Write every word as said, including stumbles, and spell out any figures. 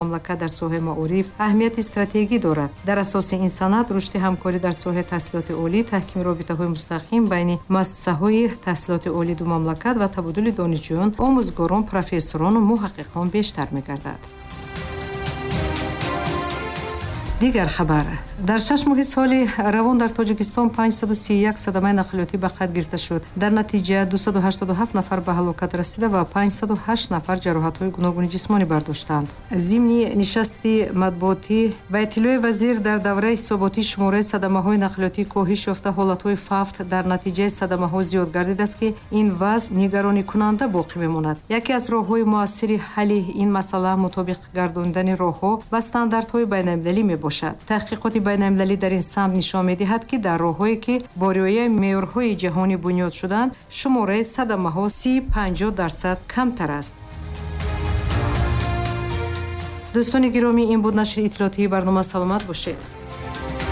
Мамлакат дар соҳаи маориф аҳамияти стратегӣ дорад. Дар асоси ин санад рушди ҳамкорӣ дар соҳаи таҳсилоти олӣ, таҳкими робитаҳои мустақим байни муассисаҳои таҳсилоти олии ду мамлакат ва табодули донишҷӯён, омӯзгорон, профессорону муҳаққиқон бештар мегардад. Дигар хабар. Дар шаш моҳи соли равон дар Тоҷикистон панҷсаду сию як садамаи нақлиётӣ ба қайд гирифта шуд. Дар натиҷа дусаду ҳаштоду ҳафт нафар ба ҳалокат расида ва панҷсаду ҳашт нафар ҷароҳатҳои гуногуни ҷисмонӣ бардоштанд. Зимни нишасти матбуотӣ ба иттилои вазир, дар давраи ҳисоботӣ шумораи садамаҳои нақлиётӣ коҳиш ёфта, ҳолатҳои фавт дар натиҷаи садамаҳо зиёд гардидааст, ки ин вазъ нигаронӣкунанда боқӣ мемонад. Яке аз роҳҳои муассири ҳалли ин масъала мутобиқ гардондани роҳҳо ба стандартҳои байналмилалӣ мебошад. Таҳқиқоти байналмилалӣ дар ин самт нишон медиҳад, ки дар роҳҳое ки бо риояи меъёрҳои ҷаҳонӣ бунёд шуданд, шумораи садамаҳо си панҷоҳ дарсад камтар аст. Дӯстони гиромӣ, ин буд нашри иттилоотии барнома. Саломат бошед.